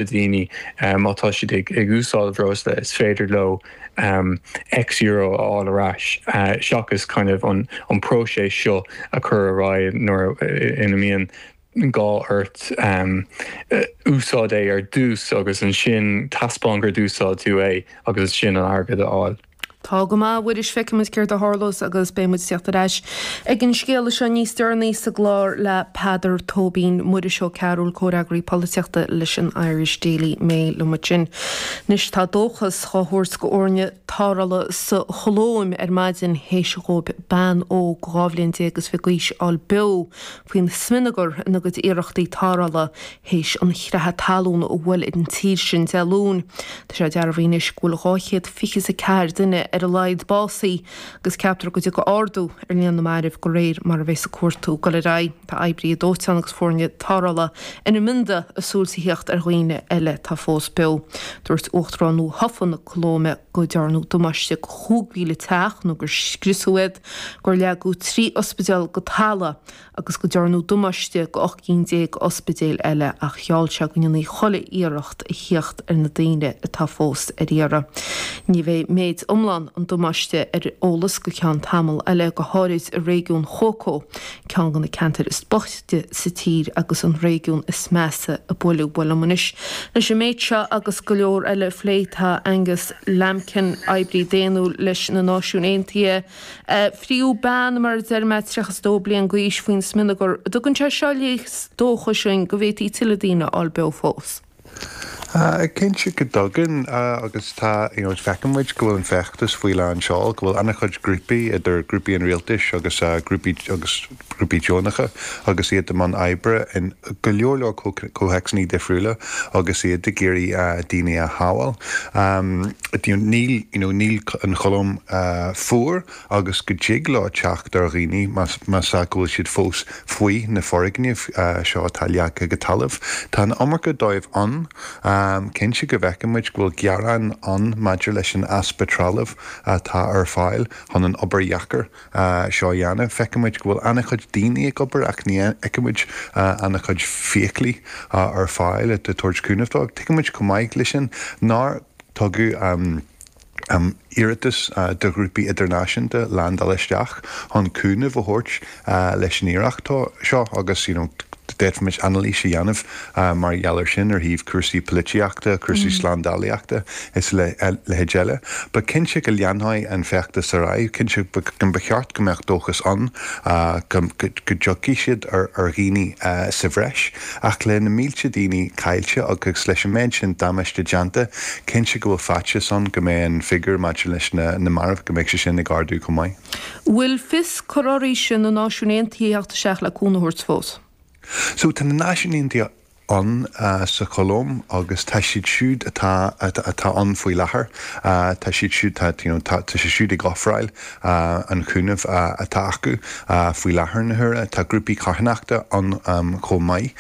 Daoine, má tá siad ag úsáid breosla, is féidir leo X euro a fháil ar ais, seachas kind of an próiseas seo a chur ar aghaidh nuair ina mbíonn gá ort úsáid é ar dtús agus ansin taispeáin gur d'úsáid tú é agus ansin an airgead a fháil. Tá go maith, a Mhuiris, feicfidh muid céard a tharlós agus beidh muid ag teacht ar ais ag an scéala seo níos deireanaí sa gclár le Peadar Tóibín. Muiris Ó Cearúil, comhfhreagraí polaitíochta leis an Irish Daily Mail liom ansin. Anois tá dóchas dhá thabhairt go fhoirne tarrthála sa Cholóim ar maidin théis dhóibh bean óg 12 bhliain is fiche d'aois a fháil beo faoin smionagar ina gcuid iarrachtaí tarrthála théis an chreatha talún a bhuail ar an tír sin Dé Luain. Tá sé dearbhaithe anois go bhfuil 224 duine ar a laghad básaithe agus ceaptar go dtiocfaidh ardú ar líon na marbh de réir mar a bheas an cuartú ag dul ar aghaidh. Tá oibrithe dóiteáin agus foirne tarrthála ina mbionda a súil sa thíocht ar dhaoine eile atá fós beo. Dúirt Uachtarán nua-thofa na Colóime go dtearnadh damáiste go 5,000 teach nó gur scriosadh iad, gur leagadh 3 ospidéal go talamh agus go dtearnadh damáiste go 18 cinn d'ospidéil eile ach gheall sé go ndéanfaí chuile iarracht a thíocht ar na daoine atá fós ar iarraidh. Ní bheidh méid iomlán an damáiste ar eolas go ceann tamall eile, go háirid i réigiún Chocó, ceann de na ceantair is boichte sa tír agus an réigiún is measa a buaileadh. Bhuel liom anois leis an méid seo agus go leor eile a phlé tá Angus Lambkin, oibrí daonnúil leis na Náisiúin Aontaithe, Fríodh bean, mar a deir mé, 32 bliain d'aois faoin smionagar. An dtugann sé seo léas dóchais dúinn go bhféadfaí tuilleadh daoine a fháil beo fós? Cinnte go dtugann agus tá, you know, feiceann muid go bhfuil an feachtas faoi lán seoil, go bhfuil an-chuid grúpaí, idir grúpaí an rialtais agus grúpaí agus grúpaí deonacha agus iad i mbun oibre in go leor leor comhthéacsanna difriúla agus iad ag iarraidh daoine a shábháil. Níl, you know, níl an Cholóim fuar agus go dtig leo teacht ar dhaoine más ea go bhfuil siad fós faoi na foirgnimh seo atá leagtha go talamh. Tá an iomarca dóibh ann. Cinnte go bhfeiceann muid go bhfuil gearáin ann maidir leis an easpa trealaimh atá ar fáil chun an obair dheacair seo a dhéanamh. Feiceann muid go bhfuil an-chuid daoine ag obair ach ní fheiceann muid an-chuid feithiclí ar fáil ag tabhairt cúnamh dóibh. Tuigeann muid chomh maith leis sin nár tugadh iarratas do ghrúpaí idirnáisiúnta landáil isteach chun cúnamh a thabhairt leis an iarracht seo agus you know d'fhéadfaimis anailís a dhéanamh mar gheall air sin ar thaobh cúrsaí polaitíochta, cúrsaí slándálaíochta is a leithéid eile. But cinnte go leanfaidh an feachtas ar aghaidh, cinnte ba cheart go mbeadh dóchas ann go dtiocfaidh siad ar dhaoine sa bhreis. Ach le na mílte daoine caillte agus leis an méid sin damáiste déanta, cinnte go bhfuil faitíos ann go mbeidh an figiúr maidir leis na mairbh, go mbeidh sé sin ag ardú chomh maith. Bhfuil fios cur arís na Náisiúin Aontaithe a theacht isteach le cúnamh a thabhairt fós? So tá na Náisiúin Aontaithe ann sa Cholóim agus tá siad siúd atá atá ann faoi láthair, tá siad siúd tá you know tá tá siad siúd ag ofráil an chúnaimh atá acu faoi láthair na huaire. Tá grúpaí carthanachta ann chomh maith.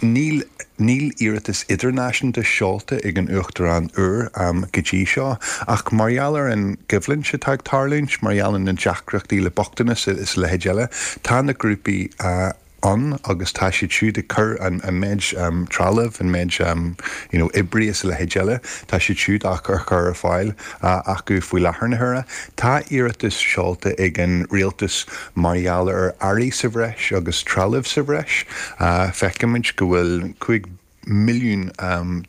Níl níl iarratas idirnáisiúnta seolta ag an Uachtarán úr go dtí seo ach mar gheall ar an gcoimhlint atá ag tarlúint, mar gheall ar na deacrachtaí le bochtanas is a leithéid eile, tá na grúpaí ann agus tá siad siúd ag cur an méid trealaimh, an méid you know oibrí is a leithéid eile, tá siad siúd á chur ar fáil acu faoi láthair na huaire. Tá iarratas seolta ag an rialtas mar gheall ar earraí sa bhreis agus trealamh sa bhreis. Feicimid go bhfuil 5 milliún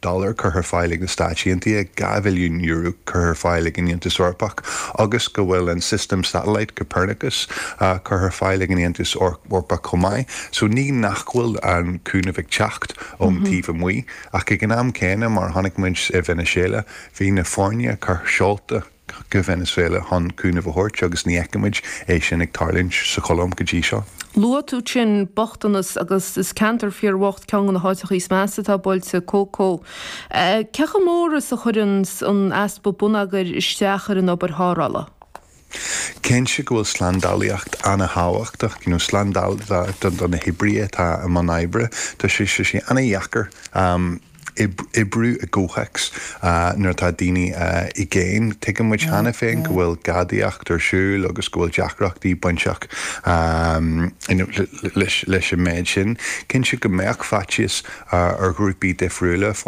dollar curtha ar fáil ag na Stáit Aontaithe, €2 bhilliún curtha ar fáil ag an Aontas Eorpach agus go bhfuil an system satellite Copernicus curtha ar fáil ag an Aontas Eorpach chomh maith. So ní nach bhfuil an cúnamh ag teacht ón taobh amuigh ach ag an am céanna, mar a chonaic muid i Veiniséala, bhí na foirne seolta go Venezuela chun cúnamh a thabhairt agus ní fheicimid é sin ag tarlúint sa Cholóim go dtí seo. Luaigh tú ansin bochtanas agus is ceantar fíorbhocht ceann de na háiteacha is measa atá buailte, Cócó. Cé chomh mór is a chuireann an easpa bonneagair isteach ar an obair tharrthála? Cinnte go bhfuil slándálaíocht an-thábhachtach, you know slándáil do na hoibrithe atá i mbun oibre. Tá sé sé an-dheacair. oibriú i gcomhthéacs nuair atá daoine i gcéin. Tuigeann muid cheana féin go bhfuil gadaíocht ar siúl agus go bhfuil deacrachtaí bainteach leis an méid sin. Cinnte go mbeadh faitíos ar ghrúpaí difriúla.